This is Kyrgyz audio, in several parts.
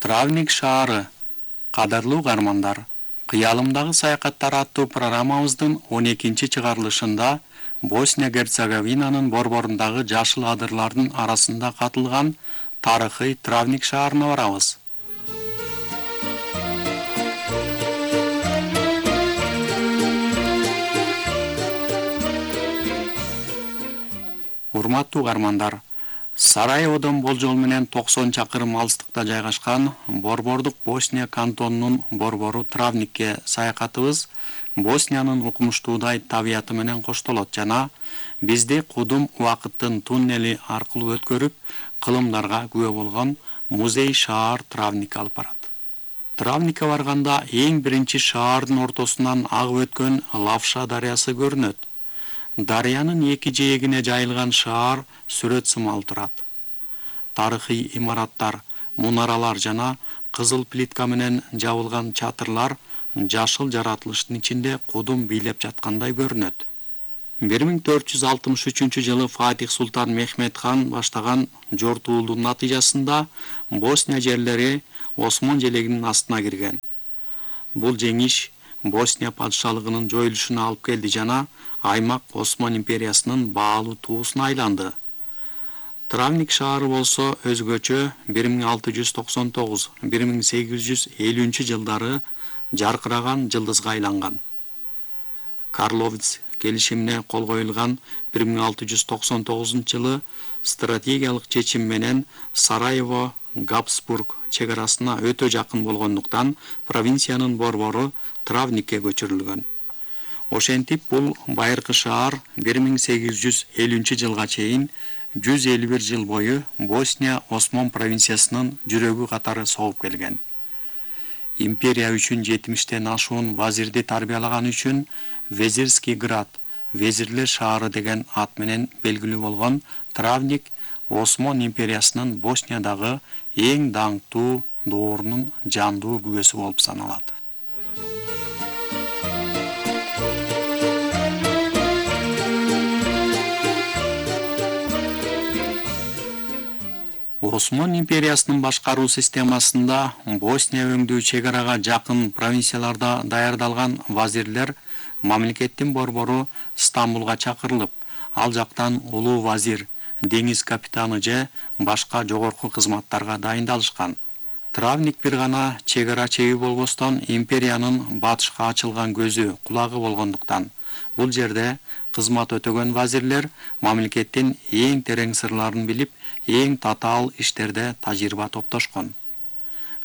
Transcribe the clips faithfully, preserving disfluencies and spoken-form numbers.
Травник шаары. Кадырлуу каармандар, кыялымдагы саякаттар аттуу программабыздын он экинчи чыгарылышында Босния-Герцеговинанын борборундагы жашыл адырлардын арасында катылган тарыхый Травник шаарына барабыз. Урматтуу каармандар, Сараеводон болжол менен токсон чакырым алыстыкта жайгашкан борбордук Босния кантонунун борбору Травникке саякатыбыз Босниянын укмуштуудай табияты менен коштолот жана бизди кудум убакыттын туннели аркылуу өткөрүп, кылымдарга күбө болгон музей шаар Травникке алып барат. Травникке барганда эң биринчи шаардын ортосунан агып өткөн Лавша дарыясы көрүнөт. Дарыянын эки жээгине жайылган шаар сүрөт сымал турат. Тарыхый имараттар, мунаралар жана кызыл плитка менен жабылган чатырлар жашыл жаратылыштын ичинде кудум бийлеп жаткандай көрүнөт. бир миң төрт жүз алтымыш үчүнчү жылы Фатих Султан Мехмет хан баштаган жортуулдун натыйжасында Босния жерлери Осмон желегинин астына кирген. Бул жеңиш Босния падышалыгынын жоюлушуна алып келди жана аймак Осман империясынын баалуу туусуна айланды. Травник шаары болсо өзгөчө бир миң алты жүз токсон тогуз — бир миң сегиз жүз элүүнчү жылдары жаркыраган жылдызга айланган. Карловец келишимине кол коюлган бир миң алты жүз токсон тогузунчу жылы стратегиялык чечим менен Сараево Габсбург чегарасына өтө жакын болгондуктан провинциянын борбору Травникке көчүрүлгөн. Ошентип бул байыркы шаар бир миң сегиз жүз элүүнчү жылга чейин жүз элүү бир жыл бою Босния Осмон провинциясынын жүрөгү катары согуп келген. Империя үчүн жетимиштен ашуун вазирди тарбиялаган үчүн Везирский град, везирлер шаары деген ат менен белгилүү болгон Травник Осмон империясынын Босниядагы эң даңктуу доорунун жандуу күбөсү болуп саналат. Осмон империясынын башкаруу системасында Босния өңдүү чегарага жакын провинцияларда даярдалган вазирлер мамлекеттин борбору Стамбулга чакырылып, ал жактан улуу вазир, деңиз капитаны же башка жогорку кызматтарга дайындалышкан. Травник бир гана чегара чеги болбостон империянын батышка ачылган көзү, кулагы болгондуктан бул жерде кызмат өтөгөн вазирлер мамлекеттин эң терең сырларын билип, эң татаал иштерде тажрыйба топтошкон.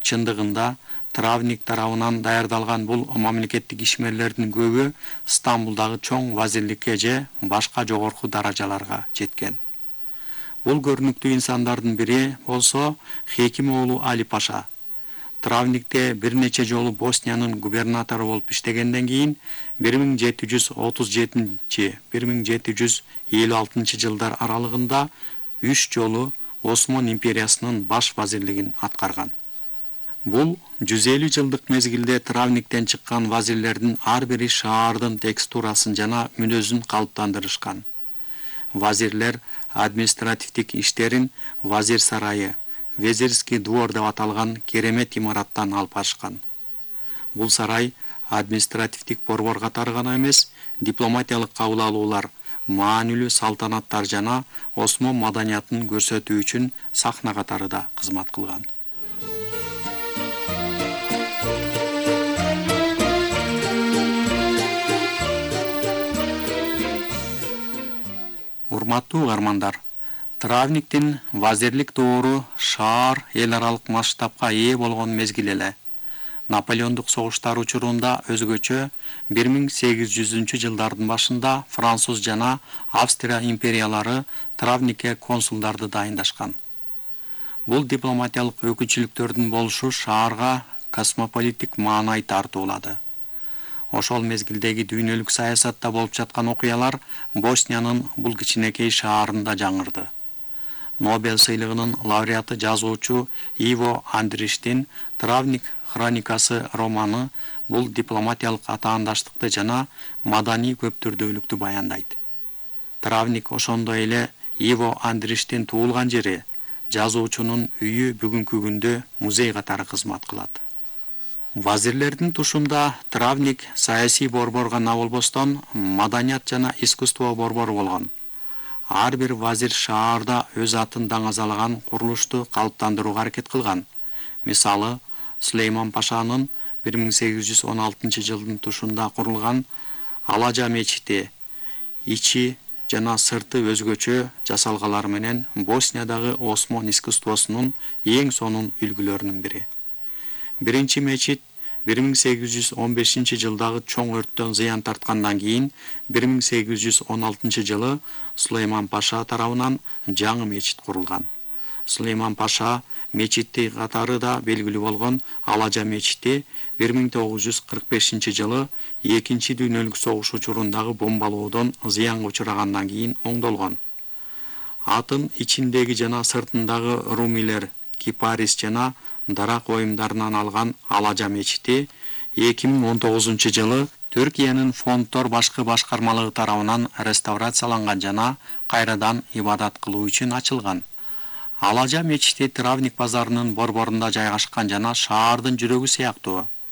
Чындыгында Травник тарабынан даярдалган бул мамлекеттик ишмерлердин көбү Стамбулдагы чоң вазирликке же башка жогорку даражаларга жеткен. Бул көрүнүктүү инсандардын бири болсо Хеким уулу Али Паша. Травникте бир нече жолу Босниянын губернатору болуп иштегенден кийин бир миң жети жүз отуз жетинчи — бир миң жети жүз элүү алтынчы жылдар аралыгында үч жолу Осмон империясынын баш вазирлигин аткарган. Бул жүз элүү жылдык мезгилде Травниктен чыккан вазирлердин ар бири шаардын текстурасын жана мүнөзүн калыптандырышкан. Вазирлер административдик иштерин Вазир сарайы, Везирский двор деп аталган керемет имараттан алып барышкан. Бул сарай административдик борбор катары гана эмес, дипломатиялык кабыл алуулар, маанилүү салтанаттар жана Осмон маданиятын көрсөтүү үчүн сахна катары да кызмат кылган. Урматтуу каармандар, Травниктин вазирлик доору шаар эл аралык масштабка ээ болгон мезгил эле. Наполеондук согуштар учурунда өзгөчө бир миң сегиз жүзүнчү жылдардын башында Француз жана Австрия империялары Травникке консулдарды дайындашкан. Бул дипломатиялык өкүлчүлүктөрдүн болушу шаарга космополиттик маанай тартуулады. Ошол мезгилдеги дүйнөлүк саясатта болуп жаткан окуялар Босниянын бул кичинекей шаарында жаңырды. Нобель сыйлыгынын лауреаты жазуучу Иво Андриштин Травник хроникасы романы бул дипломатиялык атаандаштыкты жана маданий көптүрдүүлүктү баяндайт. Травник ошондой эле Иво Андриштин туулган жери жазуучунун үйү бүгүнкү күндө музей катары кызмат кылат. Вазирлердин тушунда Травник саясий борбор гана болбостон, маданият жана искусство борбору болгон. Ар бир вазир шаарда өз атын даңазалаган курулушту калыптандырууга аракет кылган. Мисалы, Сулейман Пашанын бир миң сегиз жүз он алтынчы жылдын тушунда курулган Алажа мечити ичи жана сырты өзгөчө жасалгалары менен Босниядагы Осмон искусствосунун эң сонун үлгүлөрүнүн бири. Биринчи мечит бир миң сегиз жүз он бешинчи жылдагы чоң өрттөн зыян тарткандан кийин бир миң сегиз жүз он алтынчы жылы Сулейман Паша тарабынан жаңы мечит курулган. Сулейман Паша мечити катары да белгилүү болгон Алажа мечити бир миң тогуз жүз кырк бешинчи жылы экинчи дүйнөлүк согуш учурундагы бомбалоодон зыянга учурагандан кийин оңдолгон. Атын ичиндеги жана сыртындагы румилер, кипарис жана дарак оюмдарынан алган Алажа мечити эки миң он тогузунчу жылы Түркиянын фонддор башкы башкармалыгы тарабынан реставрацияланган жана кайрадан ибадат кылуу үчүн ачылган. Алажа мечити Травник базарынын борборунда жайгашкан жана шаардын жүрөгү сыяктуу.